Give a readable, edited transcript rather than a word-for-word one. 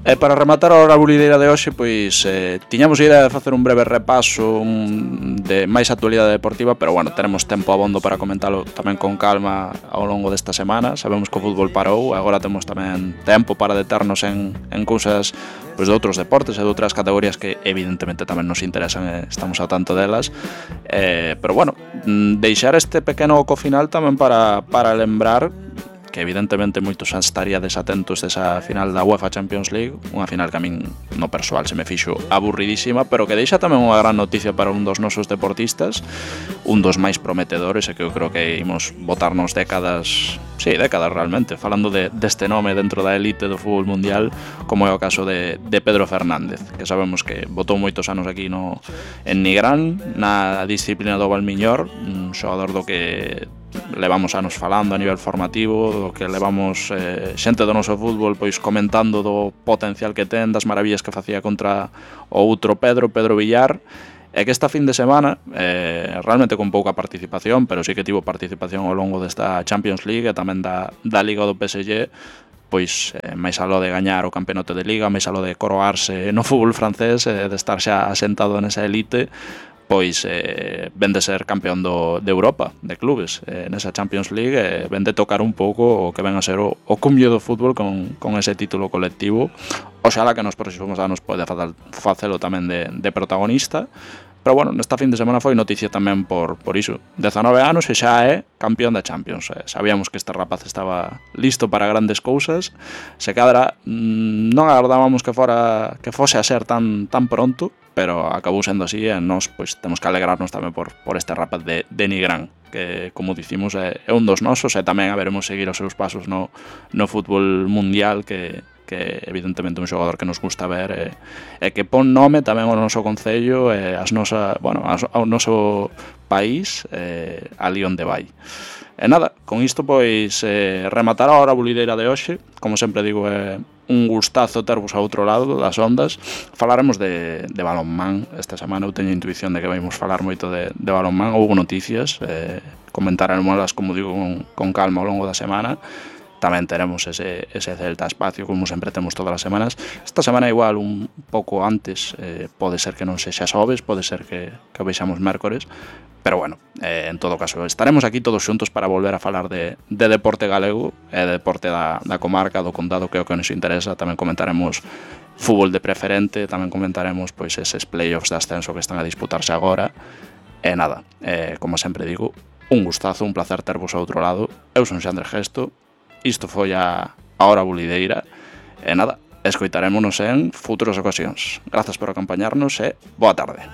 E para rematar a hora bulideira de hoxe, pois tiñamos a idea de facer un breve repaso de máis actualidade deportiva, pero bueno, tenemos tempo abondo para comentalo tamén con calma ao longo desta semana. Sabemos que o fútbol parou, agora temos tamén tempo para deternos en cousas pois de outros deportes e de outras categorías que evidentemente tamén nos interesan e estamos ao tanto delas. Pero bueno, deixar este pequeno oco final tamén para lembrar que evidentemente moitos estaríades atentos desa final da UEFA Champions League, unha final que a min no persoal se me fixo aburridísima, pero que deixa tamén unha gran noticia para un dos nosos deportistas, un dos máis prometedores, e que eu creo que imos botarnos décadas realmente, falando deste nome dentro da elite do fútbol mundial, como é o caso de Pedro Fernández, que sabemos que botou moitos anos aquí en Nigrán, na disciplina do Valmiñor, un xogador do que levamos anos falando a nivel formativo, do que levamos xente do noso fútbol pois comentando do potencial que ten, das maravillas que facía contra o outro Pedro Villar, e que esta fin de semana, realmente con pouca participación, pero sí que tivo participación ao longo desta Champions League e tamén da Liga do PSG, pois máis aló de gañar o campeonato de Liga, máis aló de coroarse no fútbol francés, de estar xa asentado nesa elite, pois ven de ser campeón de Europa, de clubes, nesa Champions League, ven de tocar un pouco o que ven a ser o cumio do fútbol con ese título colectivo. Oxalá que nos próximos anos pode facelo tamén de protagonista. Pero bueno, nesta fin de semana foi noticia tamén por iso. 19 anos e xa é campeón da Champions. Sabíamos que este rapaz estaba listo para grandes cousas. Se cadra non agardábamos que fose a ser tan pronto, pero acabou sendo así e nós pois temos que alegrarnos tamén por este rapaz de Nigrán, que, como dicimos, é un dos nosos, e tamén haberemos seguir os seus pasos no fútbol mundial, que evidentemente é un xogador que nos gusta ver e que pon nome tamén ao noso concello e ao noso país, ali onde vai. E nada, con isto pois rematar a hora bulideira de hoxe. Como sempre digo, é un gustazo tervos a outro lado das ondas. Falaremos de balonmán esta semana. Eu teño intuición de que vamos falar moito de balonmán. Houve noticias, comentaremos, como digo, con calma ao longo da semana. Tamén teremos ese Celta Espacio, como sempre temos todas as semanas. Esta semana igual un pouco antes, pode ser que non sexa xoves, pode ser que o vexamos mércores, pero bueno, en todo caso estaremos aquí todos xuntos para volver a falar de deporte galego e de deporte da comarca, do condado, que é o que nos interesa. Tamén comentaremos fútbol de preferente, tamén comentaremos pois eses playoffs de ascenso que están a disputarse agora. E nada, como sempre digo, un gustazo, un placer tervos ao outro lado. Eu son Xandre Gesto. Isto foi a hora bulideira e nada, escoitarémonos en futuras ocasións. Grazas por acompañarnos e boa tarde.